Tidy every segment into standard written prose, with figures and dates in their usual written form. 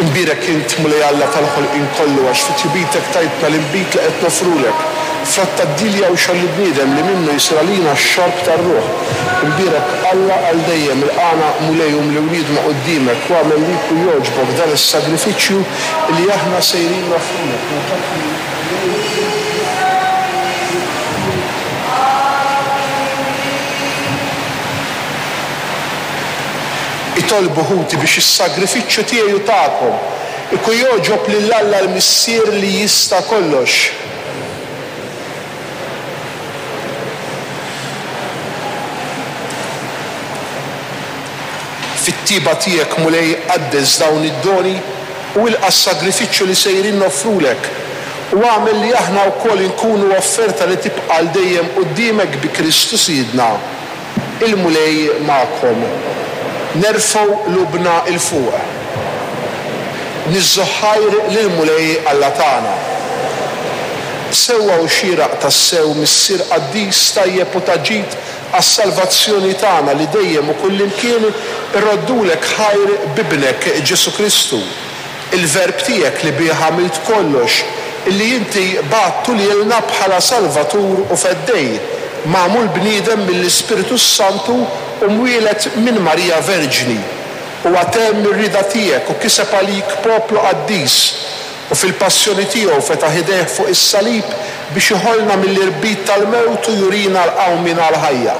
Imbierek int, Mulej Alla tal-ħolqien kollu, għax fi tjubitek tajtna l-inbid li qed noffrulek, frott tad-dilja u xogħol il-bniedem li minnu jsir għalina x-xorb tar-ruħ. Imbierek Alla għal dejjem, ilqagħna, Mulej, umli u niedma quddiemek, u agħmel li jkun jogħġbok dan is-sagrifiċċju li aħna sejrin noffrulek. Itolbu, ħuti, biex is-sagrifiċċju tiegħi u tagħkom ikun jogħġob lil Alla l-Missier li jista' kollox. Fit-tjieba tiegħek, Mulej, qaddes dawn id-doni u ilqa' s-sagrifiċċju li sejrin noffrulek, u agħmel li aħna wkoll inkunu offerta li tibqa' għal dejjem quddiemek bi Kristu Sidna. Il-Mulej magħkom. Nerfgħu qlubna 'l fuq. Niżżu ħajr lill-Mulej Alla tagħna. Sewwa u xieraq tassew, Missier qaddis, tajjeb u ta' ġid għas-salvazzjoni tagħna li dejjem u kullimkien irroddulek ħajr b'Ibnek Ġesù Kristu, il-Verb tiegħek li bih għamilt kollox, illi inti bgħattu lilna bħala Salvatur u Feddej, magħmul bniedem mill-Ispirtu s-Santu u mwieled minn Marija Verġni. Huwa temm ir-rieda tiegħek u kiseb għalik poplu qaddis, u fil-passjoni tiegħu fetaħ idejh fuq is-salib biex iħollna mill-irbit tal-mewt u jurina l-qawmien għall-ħajja.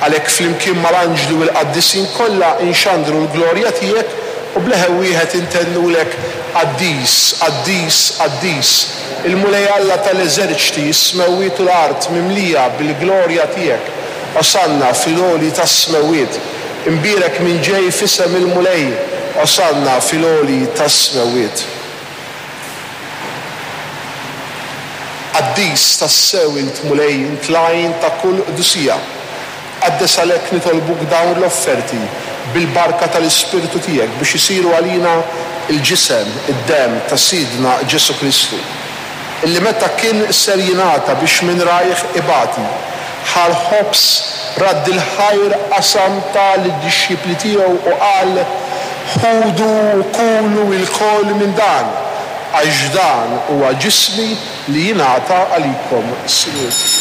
Għalhekk flimkien mal-anġli u l-qaddisin kollha nxandru l-glorja tiegħek u b'leħen wieħed intennulek, Qaddis, qaddis, qaddis, il-Mulej Alla tal-eżerċti, is-smewwiet u l-art mimlija bil-glorja tiegħek. Osanna fil-għoli tas-smewwiet. Imbierek min ġej f'isem il-Mulej, Osanna fil-għoli tas-smewwiet. Qaddis tassew int Mulej, int l-għajn ta' kull qdusija. Qaddes għalhekk nitolbuk dawn l-offerti bil-barka tal-Ispirtu tiegħek biex isiru għalina l-ġisem, id-demm ta' Sidna Ġesù Kristu, illi meta kien ser jingħata biex minn rajh ibati, ħa l-ħobż, radd il-ħajr, qasam, ta lid-dixxipli tiegħu u qal, Ħudu u kulu ilkoll minn dan, għax dan huwa ġismi li jingħata għalikom. Sinjur.